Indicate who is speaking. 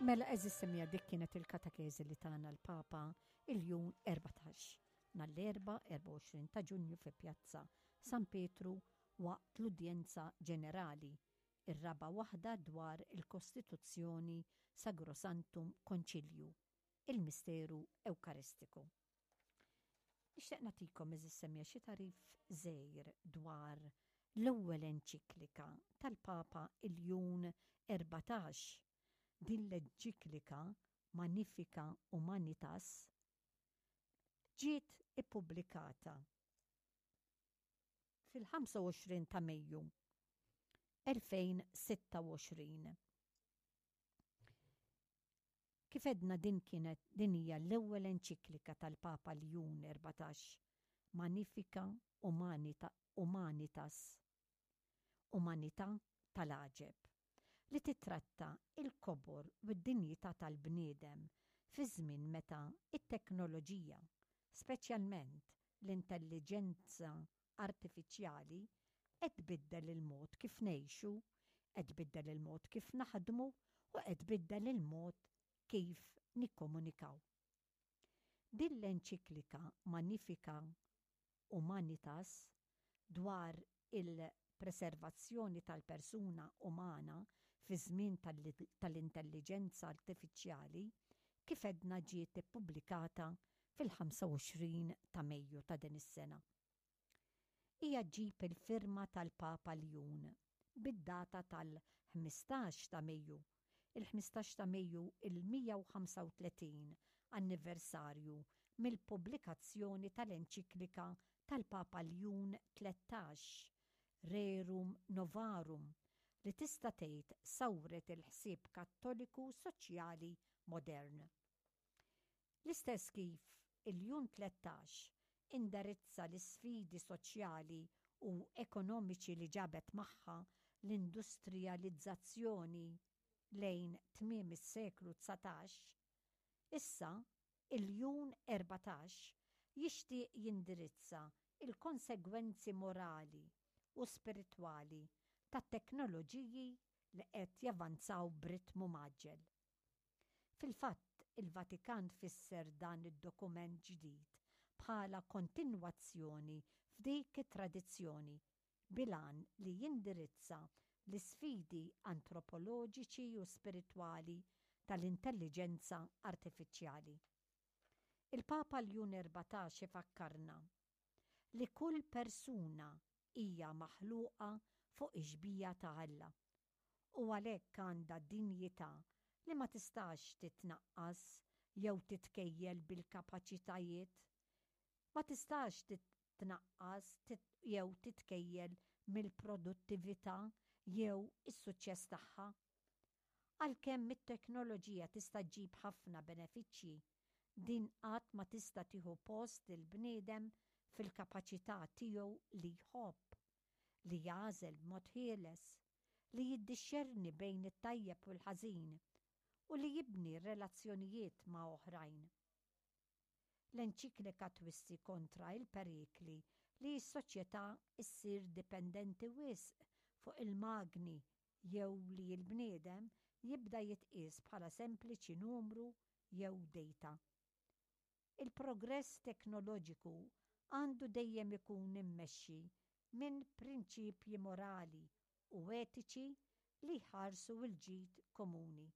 Speaker 1: Mela eżis semija dik kienet il-katakezi li tana l-Papa il-jum 14 nhar l-Erbgħa 24 ta' Ġunju fi Pjazza San Pietru waqt l-Udjenza Ġenerali, ir-raba' waħda dwar il-Kostituzzjoni Sagrosanctum Conciliu, il-Misteru Ewkaristiku. Nixtieq nagħtikom għeżież semmiegħa xi tagħrif żgħir dwar l-ewwel enċiklika tal-Papa Iljun 14. Din l-enċiklika Magnifica Humanitas ġiet ippubblikata fil-25 ta' Mejju 2026. Kif għedna din kienet din hija l-ewwel enċiklika tal-Papa Ljun 14, Magnifica Humanitas, Umanità tal-għaġeb, li tittratta l-kobor u d-dinjità tal-bniedem fi żmien meta t-teknoloġija, speċjalment l-intelliġenza artifiċjali, qed tbiddel il-mod kif ngħixu, qed tbiddel il-mod kif naħdmu u qed tbiddel il-mod kif nikkomunikaw. Din l-enċiklika Magnifica Humanitas dwar il-preservazzjoni tal-persuna umana fi żmien tal-intelliġenza artifiċjali kif għedna ġiet ippubblikata fil-25 ta' Mejju ta' din is-sena. Hija ġġib il-firma tal-Papa Ljun bid-data tal-15 ta' Mejju, il-15 ta' Mejju il-135 anniversarju mill-pubblikazzjoni tal-enċiklika tal-Papa Ljun 13, Rerum Novarum, li tista' tgħid sawret il-ħsieb Kattoliku soċjali modern. L-istess kif il-Ljun 13 indirizza l-isfidi soċjali u ekonomiċi li ġabet magħha l-industrijalizzazzjoni lejn tmiem is-seklu 19, issa il-Ljun 14 jixtieq jindirizza l-konsegwenzi morali u spiritwali tat-teknoloġiji li qed javanzaw b'ritmu mgħaġġel. Fil-fatt, il-Vatikan fisser dan id-dokument ġdid bħala kontinwazzjoni f'dik it-tradizzjoni bil-għan li jindirizza l-isfidi antropoloġiċi u spiritwali tal-intelliġenza artifiċjali. Il-Papa Ljun 14 ifakkarna li kull persuna hija maħluqa fuq ix-xbieha ta' Alla u għalhekk għandha dinjità li ma tistax titnaqqas jew titkejjel bil-kapaċitajiet, ma tistax titnaqqas jew titkejjel mill-produttività jew is-suċċess tagħha. Għalkemm it-teknoloġija tista' ġġib ħafna benefiċċji, din qatt ma tista' tieħu post il-bniedem fil-kapaċità tiegħu li jħobb, li jagħżel b'mod ħieles, li jiddixxerni bejn it-tajjeb u l-ħażin, u li jibni relazzjonijiet ma' oħrajn. L-enċiklika twissi kontra l-perikli li s-soċjetà ssir dipendenti wisq fuq il-magni jew li l-bniedem jibda jitqies bħala sempliċi numru jew data. Il-progress teknoloġiku għandu dejjem ikun immexxi minn prinċipji morali u etiċi li jħarsu l-ġid komuni.